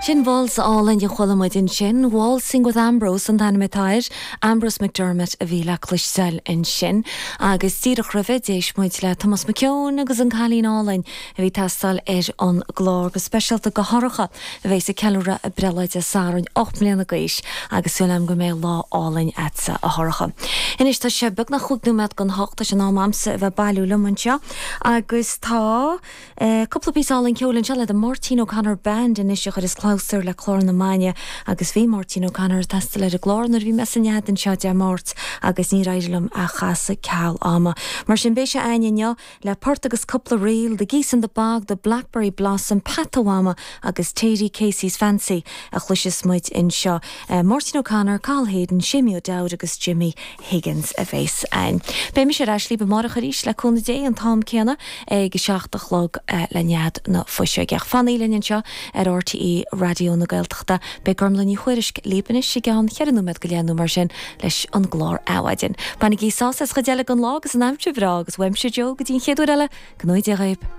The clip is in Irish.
Sin waltz álainn a chuala muid ansin, Waltzing with Ambrose an t-ainm atá air, Ambrose McDermott a bhí le cloisteáil ansin. Agus díreach roimhe, d'éist muid le Tomás Mac Eoin agus an Cailín Álainn a bhí ag teastáil ar an gclár go speisialta go Shorcha a bheas ag ceiliúradh a breithlá Dé Sathairn, 8 mbliana d'aois, agus súil agam go mbeidh lá álainn a'dsa, a Shorcha. Anois tá sé beagnach chúig nóiméad don hocht, tá sé in am a'msa a bheith ag bailiú liom anseo agus tá. Cúpla píosa álainn ceoil anseo le The Máirtín O'Connor Band anois a chuireas clabhsúr le clár na maidine agus bhí Máirtín O'Connor ag teastáil ar an gclár nuair a bhí mé sa nead anseo Dé Máirt agus níor éirigh liom é a chasadh ceal ama. Mar sin beidh sé a'ainn inniu le port agus cúpla ríl, The Geese in the Bog, The Blackberry Blossom, Peata Mhama agus Thady Casey's Fancy a chloisfeas muid anseo. Máirtín O'Connor, Cathal Hayden, Séimí O'Dowd agus Jimmy Higgins a bheas a'ainn. Beidh mise ar ais libh amárach arís le cúnamh Dé an t-am céanna ag a 7 a chlog le Nead na Fuiseoige. Ach fanaigí linn anseo ar RTÉ Raidió na Gaeltachta. Beidh Gormlaith Ní Thuairisg libh anois i gceann cheithre nóiméad go leith nó mar sin leis an gclár Adhmhaidin. Bainigí sásamh as an chuid eile den lá agus an aimsir bhreá agus uaimse Joe go dtí an chéad uair eile, go ngnóthaí Dia dhaoib.